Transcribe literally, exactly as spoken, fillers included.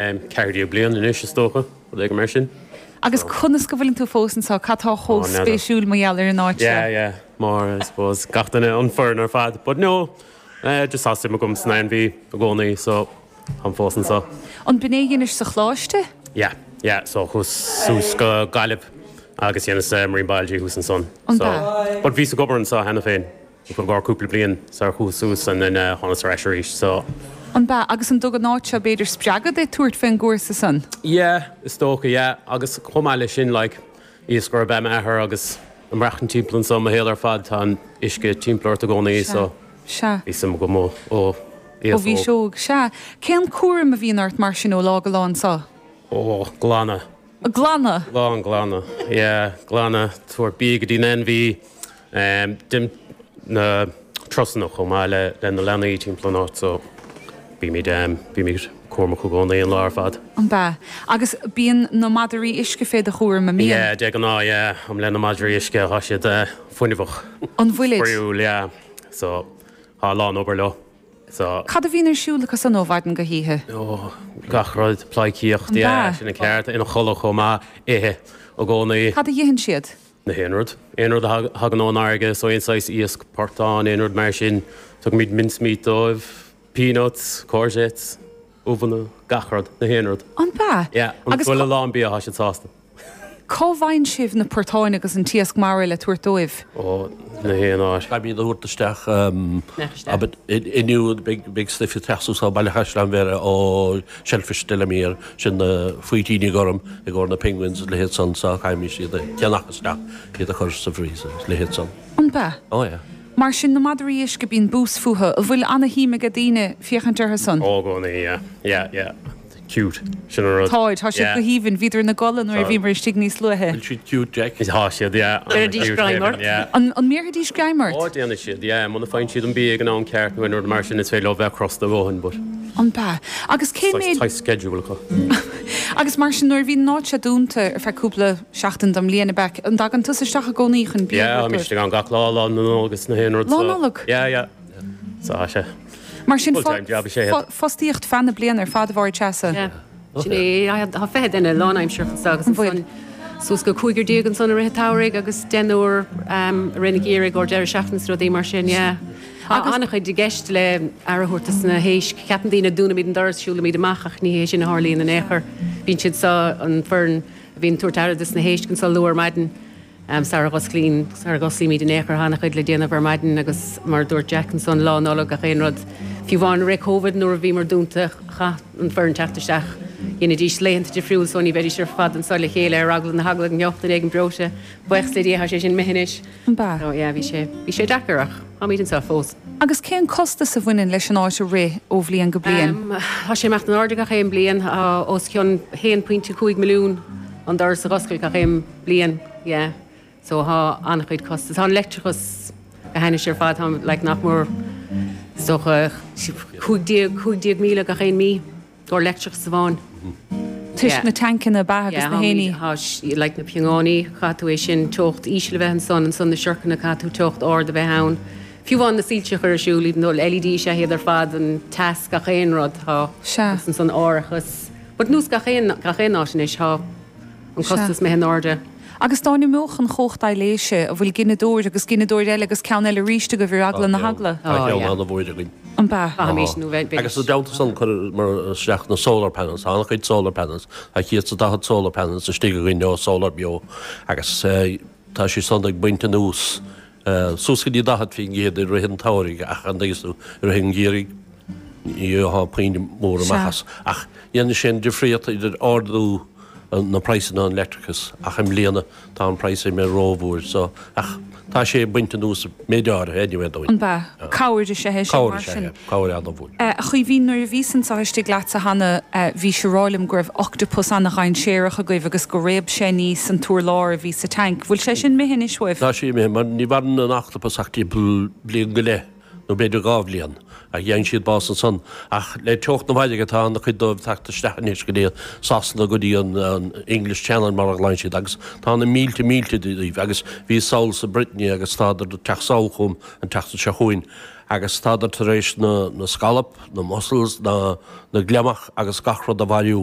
Ceathair déag bliain anois is dócha, rud éigin mar sin. Agus conas go bhfuileann tú fós anseo, cad tá chomh spéisiúil mar gheall ar an áit seo? Yeah, yeah, mar I suppose gach duine an foireann ar fad. But no, eh, just tá suim agam san ainmhí i gcónaí so táim fós anseo. An b'in é a dheinis sa choláiste? Yeah, yeah, so chuas suas go Gaillimh agus dheineas marine biology thuas ansan. An So, b'ea? but bhíos ag obair anseo cheana féin. I gcomhair cúpla bliain sar chuas suas and then thánas ar ais arís so. An b'ea? Agus an dtug an áit seo b'fhéidir spreagadh duit tabhairt faoin gcúrsa san? Yeah, is dócha, yeah. Agus chomh maith leis sin like iascaire ab ea m'athair agus ag maireachtaint timpeall anso mo shaol ar fad tá an uisce timpeall ort i gcónaí so Sea. bhí suim agam ó ó Ó bhís óg, sea. Cén cúram a bhíonn ort mar sin ó lá go lá anso? Ó, glanadh. Glanadh? Lán glanadh, yeah, glanadh, tabhairt bia go dtí an ainmhí, déanaim na turasanna chomh maith le le na leanaí timpeall an áit so bímid bímid cúramach i gcónaí an lá ar fad. An b'ea? Agus bíonn na madraí uisce fé do chúram, an mbíonn? Yeah, de ghnáth, yeah, táim le na madraí uisce, tá siad fuinneamhach. An bhfuilid? Spraíúil, yeah, so tá a lán obair leo. So. Cad a bhíonn ar siúl acu san ó mhaidin go hoíche? Ó, gach rud, pleidhcíocht, An yeah, b'ea? sin an ceart, ina chodladh chomh maith, ithe i gcónaí. Cad a itheann siad? Na haon rud. Aon rud a thagann ón fharraige, so aon saghas iasc, portán, aon rud mar sin. Tugaimid mincemeat dóibh, peanuts, courgettes, ubhanna, gach rud, na haon rud. An b'ea? Yeah, an Agus bhfuil a lán bia, tá siad sásta. Cá bhfaigheann sibh na portáin agus an t-iasc mara le tabhairt dóibh? Ó, na haon áit. Caithfimid a thabhairt isteach, abair, inniu beidh stuif ag teacht suas ó Baile Chaisleáin Bhéarra ó Shellfish Delamere, sin na faoitíní gorm i gcomhair na penguins is leithéid san, so caithfimid iad a cheannach isteach, iad a chur sa freezer is leithéid san. An b'ea? Ó yeah. Mar sin, na madraí uisce, bíonn bús fúthu. An bhfuil ana-shuim age daoine féachaint orthu san? Ó, i gcónaí, yeah, yeah, yeah. Cute, sin an rud. Táid, tá siad Yeah. go haoibhinn. Bhíodar ina gcodladh nuair a bhíomar istigh níos luaithe. Bhfuil siad cute, Jack? Tá siad, yeah. Déarfaidís greim ort. Yeah. An, an mbéarfaidís greim ort? Ó, déanfaidh siad, yeah. Muna bhfaigheann siad an bia ag an am ceart nó aon rud mar sin, is féidir leo bheith crosta a dhóthain, but. An b'ea? Agus cé Saghas méid. tight schedule acu. Agus mar sin, nuair a bhíonn an áit seo dúnta ar feadh cúpla seachtain den mbliain, ab ea? An dtagann tusa isteach i gcónaí chun bia a Yeah, thabhairt táimid dóibh? istigh ann gach lá, Lá na Nollag is na haon rud, Lá so. Nollag? Yeah, yeah. So, tá sé. Mar sin, Full-time job is ea iad. fostaíocht feadh na bliana ar fad a Mháire Treasa. Yeah. Sin é. Tá fiche duine lánaimseartha anseo agus An bhfuil? ansan suas go cúigear déag ansan i rith an tsamhraidh agus deichniúr i rith an gheimhridh or deireadh seachtaine is rudaí mar sin, yeah. Tá an-chuid i gceist le aire a thabhairt dos na héisc. Ceapann daoine dúnaimid an doras, siúlaimid amach ach ní hé sin a tharlaíonn in aon chor. Bíonn siad so, an foireann a bhíonn ag tabhairt aire dos na héisc anso luath ar maidin. Sara dh'osclaíonn, sara dh'osclaímid in aon chor, tá an-chuid le déanamh ar maidin agus mar a dúirt Jack ansan, Lá Nollag, gach aon rud. Fiú amháin i rith Covid nuair a bhíomar dúnta, chaith an foireann teacht isteach. Dheinidís laethanta difriúil so ní bheidís ar fad anso le chéile ar eagla na heagla go ngeobhadh duine éigin breoite. Buíochas le Dia tá sé sin imithe anois. An b'ea? So yeah, bhí sé, bhí sé deacair ach táimid anso fós. Agus cén costas a bhaineann leis an áit a rith ó bhliain go bliain? Tá sé ag imeacht in airde gach aon bliain, tá os cionn haon pointe cúig milliún an doras a dh'oscailt gach aon bliain, yeah. So tá an-chuid costas. Tá an leictreachas go hainnis ar fad, tá like nach mór is dócha cúig déag, cúig déag míle gach aon mí gcomhair leictreachas amháin. Toisc na tancanna ab ea agus Yeah, na héinní. tá like na piongáiní, caithfidh tú é sin, teocht íseal a bheith ansan, ansan na siorcanna, caithfidh tú teocht ard a bheith ann. Fiú amháin na soilse a chur ar siúl, even though LED is ea iad ar fad, an teas, gach aon rud, tá Sea. agus ansan árachas. But nós gach aon, gach aon áit anois, tá an costas imithe in airde. Agus dá n-imeodh an chumhacht aibhléise, an bhfuil gineadóir agus gineadóir eile agus ceann eile arís agaibh ar eagla na heagla? Tá ceann an-mhór againn. An b'ea? Caithfimís nó bheith. Agus i dteannta san chuireamar isteach na solar panels, tá an-chuid solar panels, tá céad is daichead solar panels istigh againn ó Solar Beo agus tá sé san ag baint anuas suas go dtí daichead faoin gcéad i rith an tsamhraidh ach an dtuigeann tú, i rith an gheimhridh ní gheofá puinn mór amach as. Ach dhéanann sé an difríocht idir ardú na praghsanna an leictreachas ach i mbliana tá an praghas imithe rómhór so ach tá sé ag baint anuas méid áirithe anyway dúinn. An b'ea? Cabhair is ea é sin Cabhair mar is ea sin. é, cabhair an-mhór. A Chaoimhín, nuair a bhíos anso istigh leatsa cheana bhís ag rá liom go raibh octapas ana-dhainséarach agaibh agus go réab sé aníos an t-urlár a bhí sa tanc. Bhfuil sé sin imithe anois uaibh? Tá sé imithe mar ní mhaireann an octapas ach timpeall bliain go leith nó b'fhéidir dhá bhliain Ach gheibheann siad bás ansan. Ach le teocht na farraige tá ana-chuid dóibh ag teacht isteach anois go dtí Sasana, go dtí an English Channel mar a ghlaonn siad agus tá na mílte mílte díobh agus bhíos sall sa Brittany agus tádar ag teacht sall chugam an tseachtain seo chugainn agus tádar tar éis na na scallop, na mussels, na na gliomach agus gach rud a bhailiú.